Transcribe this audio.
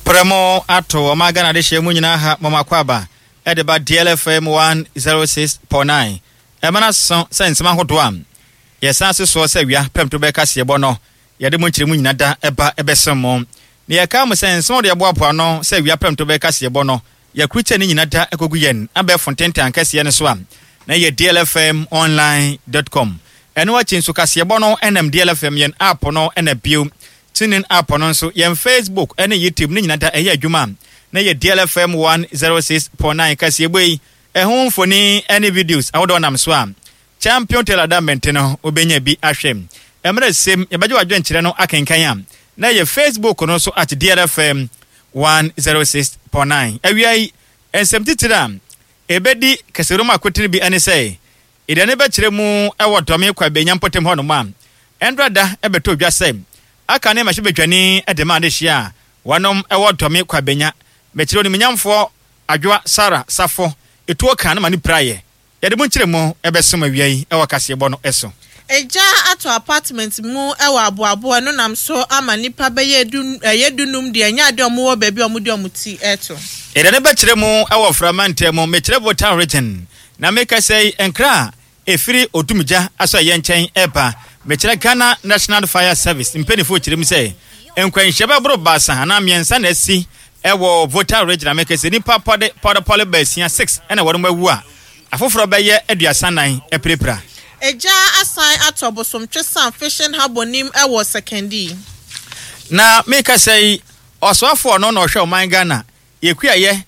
Prɛ mo ato ɔman Ghana adehyeɛ mu nyinaa ha mom akwaaba de ba DLFM 106.9. Ɛma no aso sɛ nsɛm ahodoɔ a yɛsan se soɔ sɛ awia prɛmto bɛyɛ kaseɛbɔ no yɛde mo nkyerɛmu nyina da ba bɛsom mo. Na yɛkae mo sɛ nsɛm ahodoɔ yɛboaboa ano sɛ awia prɛmto bɛyɛ kaseɛbɔ no yɛakrukyɛ ne nyina da kɔgu yɛn abɛɛfo ntentan kɛseɛ no so a na ɛyɛ dlfmonline dot com. Ɛno akyi nso kaseɛbɔ no nam DLFM yɛn app no na bio TuneIn app no nso yɛn Facebook ne YouTube ne nyina da ɛyɛ adwuma a na ɛyɛ DLFM 106.9 kaseɛbɔ yi ɛho mfoni ne videos ahodoɔ nam so a Champion Taylor da mmɛnte no wobɛnya bi ahwɛ. Mmerɛ sem yɛbɛgye w'adwenkyerɛ no akenkan a na ɛyɛ Facebook no so at DLFM 106.9. Awia yi, nsɛm titire a ɛbɛdi kɛsɛwura akotene bi ne sɛ, Aduane bɛkyerɛ mu wɔ Dɔme Kwabenya mpɔtam hɔnom a, ɛndra da bɛtɔ dwa sɛ aka ne mmarahyɛbadwani de ma adehyeɛ a wɔnom wɔ Dɔme Kwabenya. Mekyerɛ Onimunyamfoɔ Adwoa Sarah Safo, etuo kaa no ma no piraeɛ. Yɛde mo nkyerɛmu bɛsom awia yi wɔ kaseɛbɔ no so. Egya atɔ apartment mu wɔ Aboabo, ɛno nam so ama nnipa bɛyɛ du ɛyɛ dunum deɛ ɛnyɛ adeɛ a wɔwɔ baabi a wɔde wɔn ti reto. Yɛde no bɛkyerɛ mu wɔ Frama ntam, mekyerɛ Volta Region, na mekasa yi nkra a ɛfiri Odumgya asɔeɛ nkyɛn reba, mekyerɛ Ghana National Fire Service mpaninfoɔ kyerɛ mu sɛ nkwanhyia bɛboro baasa anaa mmiɛnsa na asi wɔ Volta Region a mekasa yi nnipa pɔde pɔrepɔre baasia, six, na wɔnom awu a afoforɔ bɛyɛ 34 apirapira. Egya asan atɔ Bosomtwesan Fishing Harbour nim wɔ Sekondi. Na mekasa yi, ɔsoafoɔ no na ɔhwɛ ɔman Ghana yɛ kuayɛ.